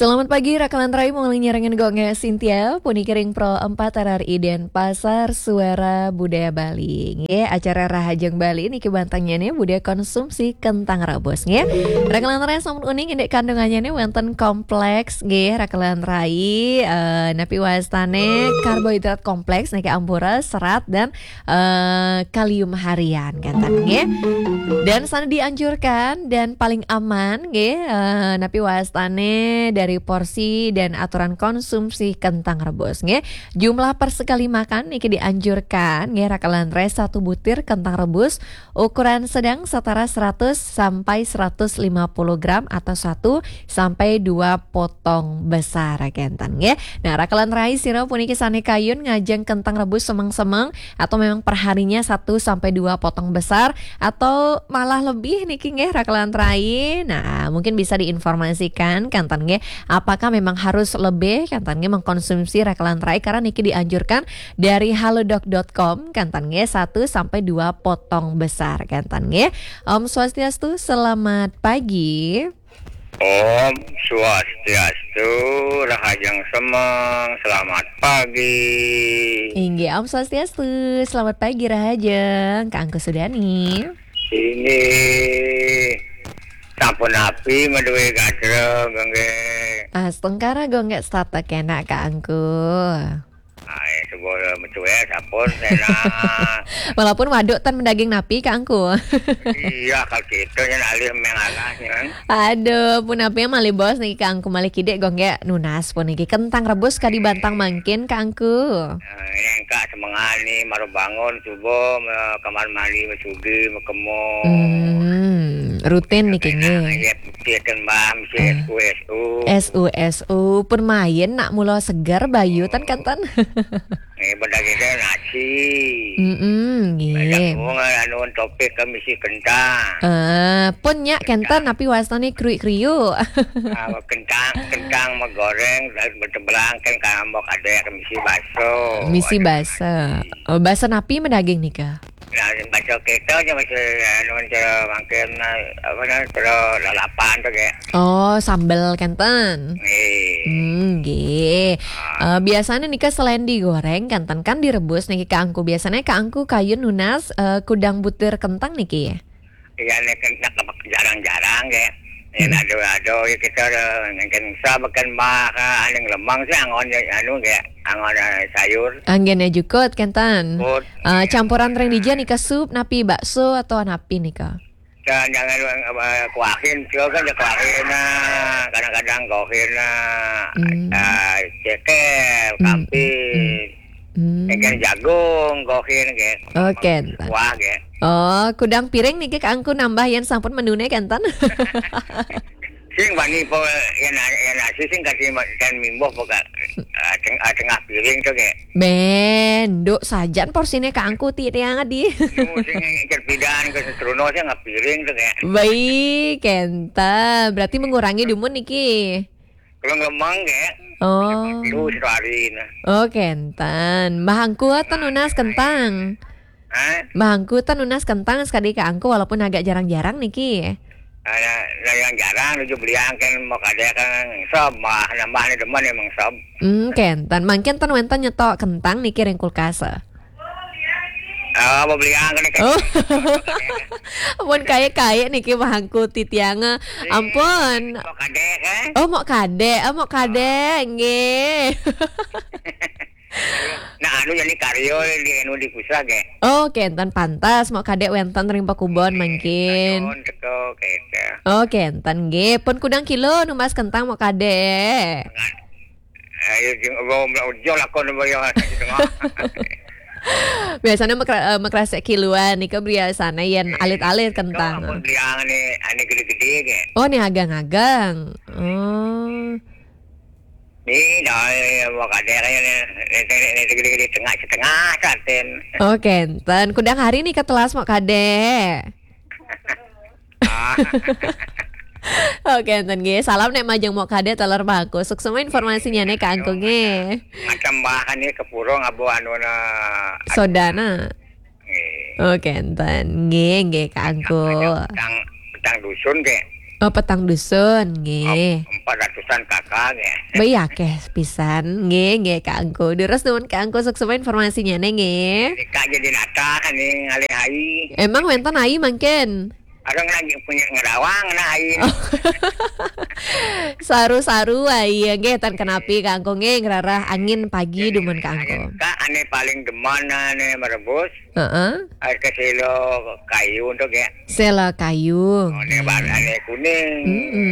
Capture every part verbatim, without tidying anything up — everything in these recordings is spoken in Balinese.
Selamat pagi, Rakalan Rai, mau ngiring nyarengin Gung Sintia, puniki ring Pro empat R R I Denpasar, Suara Budaya Bali. Nggih, acara Rahajeng Bali niki bantang nyené budaya konsumsi kentang rebus, nggih. Rakalan Rai sampun uning indik kandungannya nih wonten kompleks, nggih, Rakalan Rai, eh, napi wastane karbohidrat kompleks niki ampura serat dan eh, kalium harian, kenten nggih. Dan sana dianjurkan dan paling aman nggih, eh, napi wastane dari porsi dan aturan konsumsi kentang rebus nggih. Jumlah per sekali makan niki dianjurkan nggih, Rakalan Rai, satu butir kentang rebus ukuran sedang setara seratus sampai seratus lima puluh gram atau satu sampai dua potong besar, kenten nggih. Nah, Rakalan Rai, sira puniki sane kayun ngajeng kentang rebus semeng-semeng atau memang perharinya satu sampai dua potong besar atau malah lebih niki nggih, Rakalan Rai. Nah, mungkin bisa diinformasikan kenten nggih, apakah memang harus lebih kenten nggih mengkonsumsi Rakalan Rai, karena niki dianjurkan dari halodoc dot com kenten nggih, satu sampai dua potong besar kenten nggih. Om Swastiastu, selamat pagi. Om Swastiastu, Rahajeng Semeng, selamat pagi. Inggih, Om Swastiastu, selamat pagi Rahajeng, Kak Angku Sudani. Inggih, sampun napi madué gatra, nggih? Astungkara, nggih, setata kenak, Kak Angku. Ai, sebuah madué sampun, enak. Walaupun waduk tan mendaging napi, Kak Angku. Iya, kalau gitu, yang alih mengalah, kan? Aduh, pun napi malih bos niki, Kak Angku, malih kidik, nggih, nunas pun niki. Kentang rebus kadi bantang mangkin, Kak Angku. Nah, ini engkak semengan nih, baru bangun subuh, me-, kamar mandi, mesugi, mekemo. Hmm, rutin niki nggih. Iya, pikiran Mbah, mesti Hmm. S U S U. S U S U, pun main nak mula seger, bayu, tan kenten. Nggih, benda kita nasi. Mm-mm, nggih. Benda bunga, anu, topik ke misi kentang. Eh, pun nyak kenten, napi wastane kriuk-kriuk. Ah, kentang, kentang megoreng, dan bertebelang kan, kalau mau kadek misi baso. Misi baso. Oh, baso napi medaging nika? Nah, baso kita aja, baso, anu, cara mangkin, apa namanya, cara lalapan tu, kayak. Oh, sambel kenten. Nggih. Hmm, nggih. Eh, biasanya nika selain digoreng, kenten kan direbus niki, Kak Angku. Biasanya Kak Angku kayun nunas, eh, kudang butir kentang niki. Iya, nek, nek, jarang-jarang, kayak. Ya, Hmm. Ado-ado, ya, kita ada, mungkin sabakan mah, aning lemang sih, angon, ya, anu, kayak, angon, eh, sayur. Anggene jukut, kenten. Jukut. Eh, campuran ring dija nika, sup, napi, bakso, atau napi nika? Dan jangan, eh, kuahin, juga kan ya kuahin, nah. Kadang-kadang gohin, nah. Hmm. Ah, cekel, Hmm, kamping. Hmm. Ikan jagung, gohin, kayak. Oh, kenten. Kuah, kayak. Oh, kudang piring niki, Kak Angku, nambah yang sampun menune, kenten. Sing bani po, yang na-, yang nasi sing kasih ma-, dan mimboh po, Kak. Ah, teng-, ah, tengah piring tu, kayak. Ben, duk sajan porsine Kak Angku ti tiang adi. Nu sing ikan pidan ke setrono sing ngapiring tu, kayak. Baik, kenten. Berarti mengurangi dumun niki. Kalau ngelemang, kayak. Oh. Lu satu hari, nah. Oh, kenten. Mbah Angku tan nunas kentang. Hah? Mbah Angku tan nunas kentang sekadi Kak Angku, walaupun agak jarang-jarang niki. Nah, nah, yang jarang nuju beliang kan mau kadek kan sob, mah nambah nih demen emang sob. Hmm, kenten. Mangkin ten wenten nyetok kentang niki ring kulkas. Oh, mau beliang kan. Oh. Pun kaya-kaya niki Mbah Angku titiang. Ampun. Mau kadek, eh? Oh, mau kadek, oh, mau kadek, nggih. Nah, anu jadi karyo di anu di pusat, ge. Oh, kenten pantas, mau kadek wenten ring pakubon mangkin. Tahun teko, keke. Oh, kenten, nggih. Pun kudang kilo numbas kentang mau kadek. Ayo, jeng, ojo lakon, ojo, ya, di tengah. Biasanya mekra-, eh, mekrasek kiluan, nika biasanya yen alit-alit kentang. Ampun beliang nih, ane gede-gede, ge. Oh, nih agang-agang. Oh. Nih, dah, mau kadek aja nih. Nih, nih, nih, gede-gede, tengah, setengah, saten. Oh, kenten. Kudang hari nih ketelas mau kadek. Ah. Oh, kenten, nggih. Salam nek majeng mau kadek taler baku. Suksema informasinya nih, Kak Angku, nggih. Macam bahan nih, kepurung, abu anu na. Sodana. Nggih. Oh, kenten. Nggih, nggih, Kak Angku. Ada petang, petang dusun, ge. Oh, petang dusun, nggih. Empat ratus Tan kakak ya. Baik akeh pisan. Nggih, nggih, Kak Angku. Terus nuwun Kak Angku, suksma informasinya nih, nggih. Ini Kak jadi nata kan nih, ngalih ai. Emang wénten ai mangkin? Ada lagi punya ngerawang, nah ai. Saru-saru ai, nggih, tan kenapi Kak Angku, nggih, ngerarah angin pagi dumun Kak Angku. Kak, ane paling demen ane merebus. Heeh. Air ke selo kayu untuk ya. Sela kayu. Oh, ini warnanya kuning,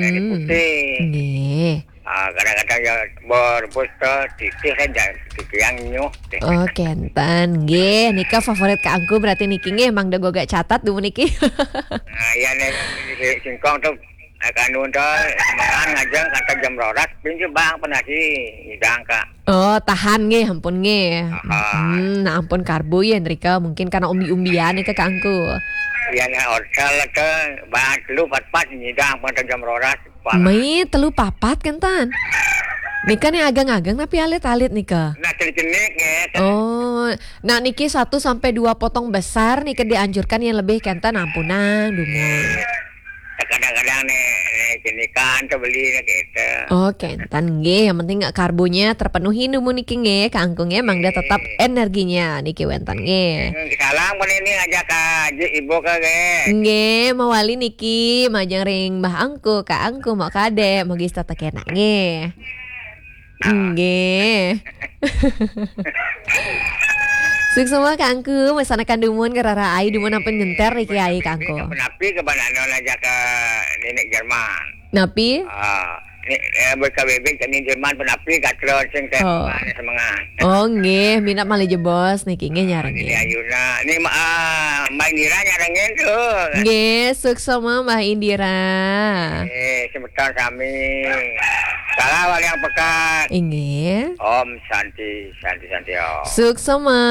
ini putih. Nggih. Ah, kadang-kadang ya merebus ke titih kan, jangan titih yang nyuh. Oh, kenten. Nggih, nika favorit Kak Angku berarti niki nggih, mangda gogak catat dulu niki. Nah, iya nih, si singkong tuh, eh, kanu tuh, makan aja kata jam rolas, pinjam bang pernah sih, hidang Kak. Oh, tahan nggih, ampun nggih. Aha. Hmm, nah ampun karbo ya nrika, mungkin karena umbi-umbian nika Kak Angku. Iya nih, orcal tuh, bang telu pat-pat nyidang kata jam rolas. Mai telu papat kenten. Nika nih agang-agang tapi alit-alit nika. Nah, cenik-cenik ya. Oh, nah niki satu sampai dua potong besar nika dianjurkan, yang lebih kenten ampunang dumun. Kadang-kadang nih, nih cenikan tuh beli nih gitu. Oh, kenten nggih, yang penting karbonya terpenuhi dumun niki nggih, Kak Angku nggih, mangda tetap energinya niki wénten nggih. Hmm, salam pun ini ngajak Kak Haji Ibu ke nggih. Nggih, mawali niki majeng ring Mbah Angku, Kak Angku, Mbok Kadek, mugi tetep enak nggih. Nggih. Suksma Kak Angku, mesanakan dumun ngerarah ai dumun ampun nyenter niki ai Kak Angku. Penapi ke banana aja ke nenek Jerman. Napi? Ah, ini, eh, buat K B B kami Jerman penapi gatra sing teh. Oh. Semangat. Oh, nggih, minat malih jebos niki nggih nyarengin. Ini Ayuna, ini ma-, ah, Mbak Indira nyarengin tuh. Nggih, suksma Mbah Indira. Eh, semeton sami. Salam waliang pekat. Inggih. Om Santi, Santi, Santi Om. Suksma,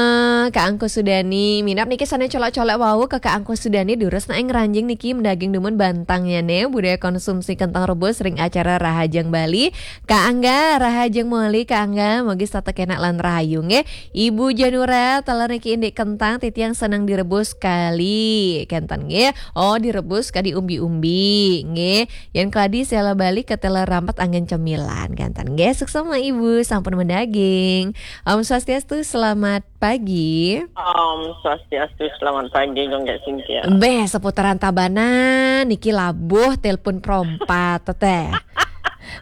Kak Angku Sudani. Minap niki sané colok-colok wau ke Kak Angku Sudani, durus nak ing ranjing niki mendaging dumun bantangnya nih, budaya konsumsi kentang rebus ring acara Rahajeng Bali. Kak Angga, Rahajeng Moli, Kak Angga, mugi tetep enak lan rahayu nggih. Ibu Janura, teler niki indik kentang, titiang seneng direbus kali. Kenten nggih. Oh, direbus kadi umbi-umbi nggih. Yen keladi sela bali ketela rampet anggen cemilan. Kenten nggih, suksma Ibu, sampun mendaging. Om Swastiastu, selamat pagi. Om Swastiastu, selamat pagi, Gung Kak Cynthia. Beh, seputaran Tabanan, niki labuh telepon perompat, teteh.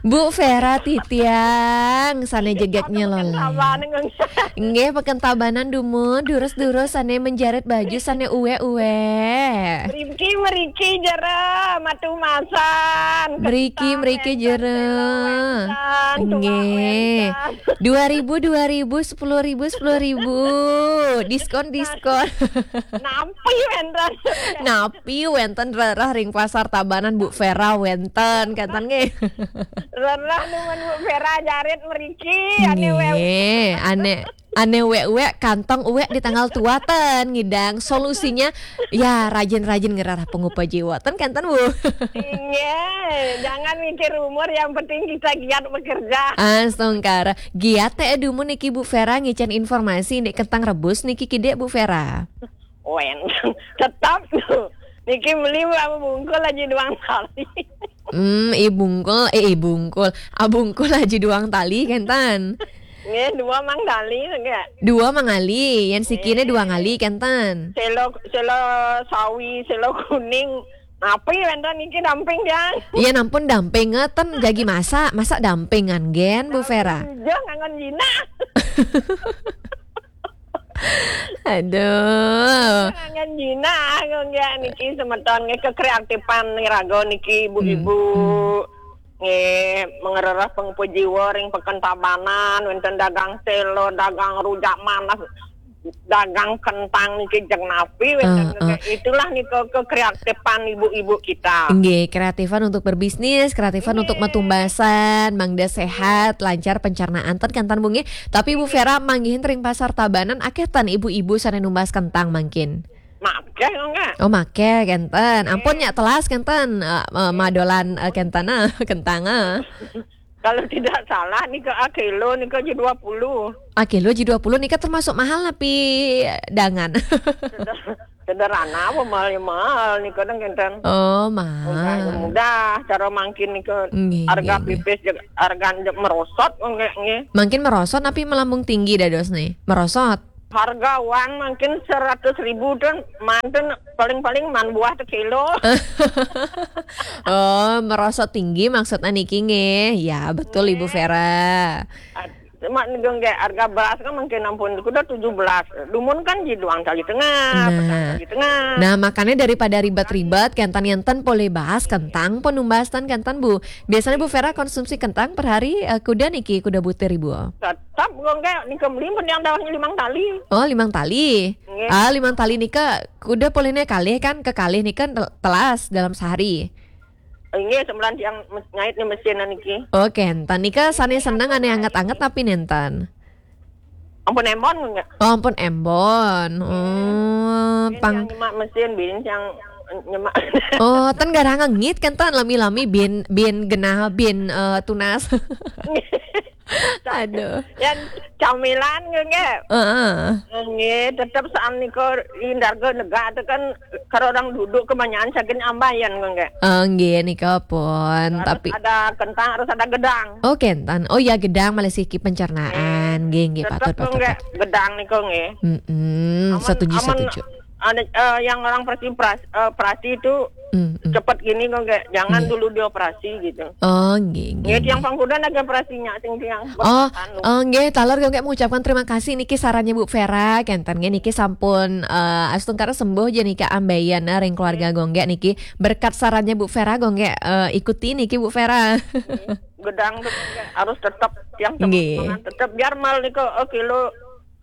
Bu Vera titiang, sana jegaknya loh. Tabanan, Gung. Nggih, peken Tabanan dumun, durus-durus, sana menjarit baju, sana uwe-uwe. Mriki, mriki jero, matu masan. Mriki, mriki jero. Nggih. Dua ribu, dua ribu, sepuluh ribu, sepuluh ribu. Diskon, diskon. Napi wénten? Napi wénten rereh ring Pasar Tabanan, Bu Vera wénten, kenten nggih. Rereh numun Bu Vera jarit mriki, ane wéwék. Nggih, ane Ane uwek-uwek, kantong uwek di tanggal tua ten ngidang. Solusinya, ya, rajin-rajin ngerarah pengupa jiwa. Ten kenten, Bu. Iya, jangan mikir umur, yang penting kita giat bekerja. Astungkara. Giat teh dumun niki Bu Vera ngicén informasi niki kentang rebus niki kidik Bu Vera. Wen, tetap tuh. Niki beli berapa bungkul aja doang kali. Hmm, i bungkul, eh, i bungkul. Abungkul aja doang tali kenten. Nggih, dua mang tali nggih. Dua mang ali, yang sikine dua ngali kenten. Selo, selo sawi, selo kuning. Napi wénten niki damping, Jang? Iya, nampun damping ngeten, jagi masak, masak dampingan gen, Bu Vera. Iya, ngangon jinak. Aduh. Ngangon jinak, nggih niki semeton nggih kekreatifan ngraga niki ibu-ibu. Hmm. Nggih, mengerereh pengupa jiwa ring Peken Tabanan, wénten dagang selo, dagang rujak manas, dagang kentang niki jeg napi wénten. Heeh. Itulah nika kekreatifan ibu-ibu kita. Nggih, kreatifan untuk berbisnis, kreatifan untuk matumbasan, mangda sehat, lancar pencernaan ten kenten Bu nggih. Tapi Bu Vera manggihin ring Pasar Tabanan akeh ten ibu-ibu sané numbas kentang mangkin. Makeh kok, Kak. Oh, makeh kenten. Ampun nya telas kenten, eh, eh, madolan, eh, kenten, eh, kentang, eh. Kalau tidak salah nika akilo nika aja dua puluh. Akilo aja dua puluh nika termasuk mahal napi dangan? Sederhana apa mahal, ya mahal nih kadang kenten. Oh, mahal. Mudah, cara mangkin nih ke nggih, harga nggih, nggih, pipis, harga merosot kok nggih, nggih. Mangkin merosot tapi melambung tinggi dados nih. Merosot. Harga wan mangkin seratus ribu tuh manten paling-paling man buah sekilo. Oh, merosot tinggi maksudnya niki nggih. Ya, betul Ibu Vera. Cuma nih nggih harga beras kan mangkin ampun kuda tujuh belas. Dumun kan di doang tali tengah, petang tali tengah. Nah, makanya daripada ribet-ribet, kenten enten polih bahas kentang penumbastan kenten Bu. Biasanya Bu Vera konsumsi kentang per hari eh, kuda niki kuda butir Ibu. Tetap nggih nih kembali pun yang dawahnya limang tali. Oh, limang tali. Nggih. Ah, limang tali nika kuda polihnya kalih kan kekalih nika tel- telas dalam sehari. Inggih, sembilan tiang mes- ngait nih mesin niki. Oh, kenten nika sane seneng ane anget-anget tapi nenten. Ampun embon nggih. Oh, ampun embon. Oh, bin pang yang nyemak mesin, bin yang nyemak. Oh, ten garang ngengit kenten lami-lami bin bin genah bin eh, tunas. Aduh. Yang camilan nggih. Heeh. Nggih, tetep saan nika indarga negak itu kan kalau orang duduk kebanyakan saking ambayan nggih. Oh, nggih nika pun. Harus tapi ada kentang, harus ada gedang. Oh, kenten. Oh ya gedang malah siki pencernaan. Nggih, nggih patut patut. Nggih, gedang nika nggih. Mm-mm, setuju setuju. Ada eh, yang orang persi perasi, eh, perasi itu Mm, mm. Cepat gini kok nggak, jangan nggih, dulu dioperasi gitu. Oh, nggih, nggih. Nggih, tiang pangkuda lagi operasinya sing tiang. Oh, bekas anu. Oh, nggih, taler gue mengucapkan terima kasih niki sarannya Bu Vera, kenten nggih niki sampun eh, astungkara sembuh jadi niki ambayan eh, ring keluarga gue nggih niki berkat sarannya Bu Vera gue nggih eh, ikuti niki Bu Vera. Nggih. Gedang tuh nggih, harus tetap tiang nggih, tetap biar mal nika eh, kilo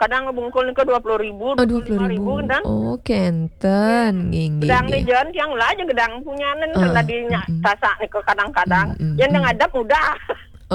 kadang bungkul nika dua puluh ribu, oh, dua puluh ribu kan. Oh, kenten, nggih, nggih. Gedang nggih. Di jalan tiang lah aja gedang punyanen. Oh, tadinya mm-mm. Tasak nika kadang-kadang. Mm-mm. Yang ngadap udah.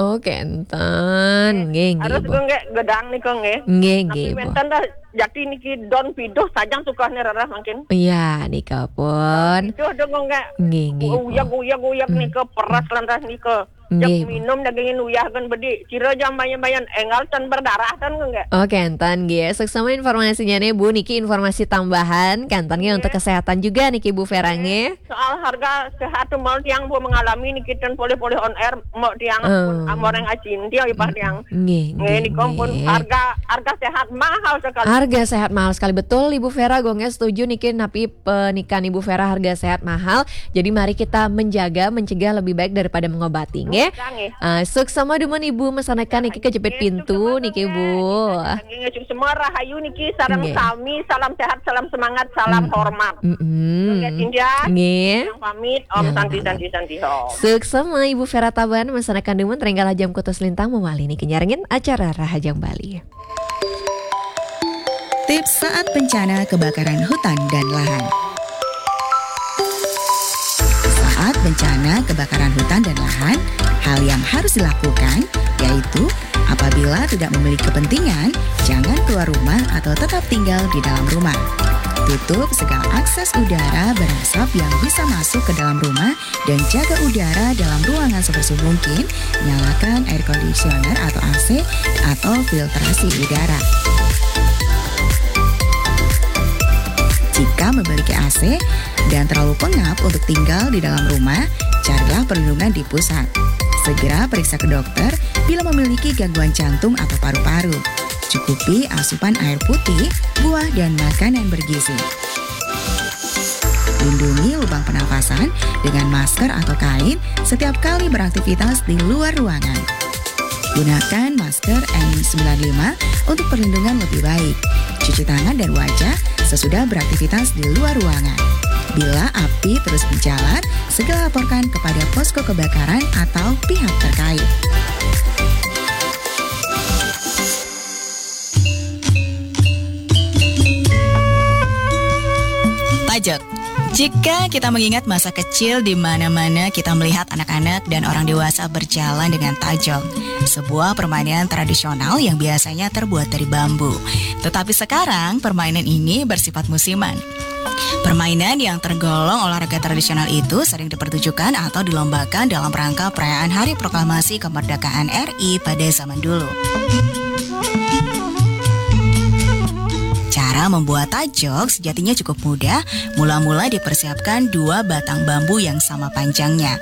Oh, kenten, nggih, nggih. Harus Bu. Gue nggak gedang nika nggih. Nggih, nggih. Tapi wenten dah jati niki don piduh sajang suka nih rarah mungkin. Iya, nika pun. Piduh dong nggak. Nggih, nggih. Uyak, uyak, uyak nika peras lantas nika. Nggih. Minum dagingin uyah kan bedi. Kira jam bayan-bayan enggal tan berdarah tan nggak? Oh, kenten nggih. Suksma informasinya nih Bu niki informasi tambahan kenten nggih untuk kesehatan juga niki Bu Vera nggih. Soal harga sehat tuh mau tiang Bu mengalami niki tan polih-polih on air mau tiang pun amor yang acin tiang ipah tiang. Nggih, nggih. Nggih niki pun harga harga sehat mahal sekali. Harga sehat mahal sekali betul Ibu Vera gue nggih setuju niki napi pernikahan Ibu Vera harga sehat mahal. Jadi mari kita menjaga, mencegah lebih baik daripada mengobati, nggih. Nggih. Ah, suksma dumun Ibu mesanekan niki kejepit pintu niki Bu. Nggih, nggih, semua rahayu niki sareng sami, salam sehat, salam semangat, salam hormat. Mm-mm. Nggih, Cynthia. Nggih. Yang pamit, Om Santi, Santi, Santi, Om. Suksma Ibu Vera Taban mesanekan dumun ring galah jam kutus lintang mawali niki nyarengin acara Rahajeng Bali. Tips saat bencana kebakaran hutan dan lahan. Saat bencana kebakaran hutan dan lahan, hal yang harus dilakukan yaitu apabila tidak memiliki kepentingan, jangan keluar rumah atau tetap tinggal di dalam rumah. Tutup segala akses udara berasap yang bisa masuk ke dalam rumah dan jaga udara dalam ruangan sebersih mungkin, nyalakan air conditioner atau A C atau filtrasi udara. Jika memiliki A C dan terlalu pengap untuk tinggal di dalam rumah, carilah perlindungan di pusat. Segera periksa ke dokter bila memiliki gangguan jantung atau paru-paru. Cukupi asupan air putih, buah, dan makanan bergizi. Lindungi lubang pernafasan dengan masker atau kain setiap kali beraktivitas di luar ruangan. Gunakan masker N sembilan lima untuk perlindungan lebih baik. Cuci tangan dan wajah sesudah beraktivitas di luar ruangan. Bila api terus menjalar, segera laporkan kepada posko kebakaran atau pihak terkait. Tajok. Jika kita mengingat masa kecil di mana-mana kita melihat anak-anak dan orang dewasa berjalan dengan tajok, sebuah permainan tradisional yang biasanya terbuat dari bambu. Tetapi sekarang permainan ini bersifat musiman. Permainan yang tergolong olahraga tradisional itu sering dipertunjukkan atau dilombakan dalam rangka perayaan Hari Proklamasi Kemerdekaan R I pada zaman dulu. Cara Membuat tajok sejatinya cukup mudah. Mula-mula dipersiapkan dua batang bambu yang sama panjangnya.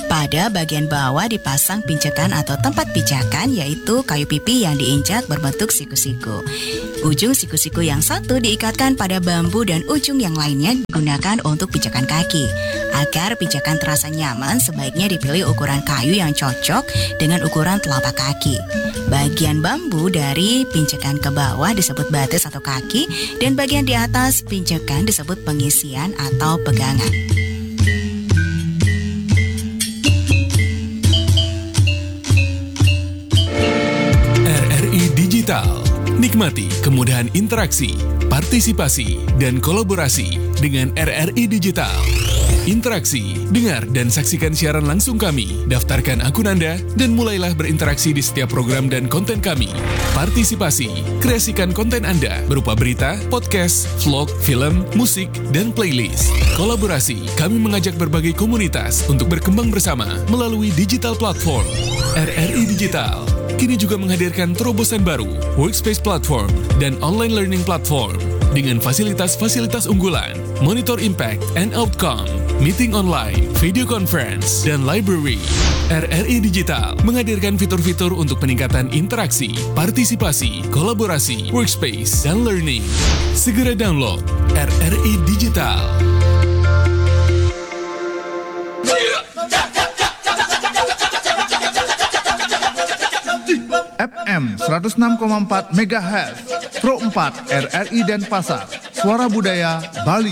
Pada bagian bawah dipasang pinjakan atau tempat pijakan, yaitu kayu pipi yang diinjak berbentuk siku-siku. Ujung siku-siku yang satu diikatkan pada bambu dan ujung yang lainnya digunakan untuk pijakan kaki. Agar pijakan terasa nyaman, sebaiknya dipilih ukuran kayu yang cocok dengan ukuran telapak kaki. Bagian bambu dari pinjakan ke bawah disebut batis atau kaki, dan bagian di atas pinjakan disebut pengisian atau pegangan. R R I Digital. Nikmati kemudahan interaksi, partisipasi, dan kolaborasi dengan R R I Digital. Interaksi, dengar dan saksikan siaran langsung kami. Daftarkan akun Anda dan mulailah berinteraksi di setiap program dan konten kami. Partisipasi, kreasikan konten Anda berupa berita, podcast, vlog, film, musik, dan playlist. Kolaborasi, kami mengajak berbagai komunitas untuk berkembang bersama melalui digital platform. R R I Digital kini juga menghadirkan terobosan baru, Workspace Platform dan Online Learning Platform dengan fasilitas-fasilitas unggulan, Monitor Impact and Outcome, Meeting Online, Video Conference, dan Library. R R I Digital menghadirkan fitur-fitur untuk peningkatan interaksi, partisipasi, kolaborasi, workspace, dan learning. Segera download R R I Digital. F M seratus enam koma empat megahertz, Pro empat R R I Denpasar, Suara Budaya Bali.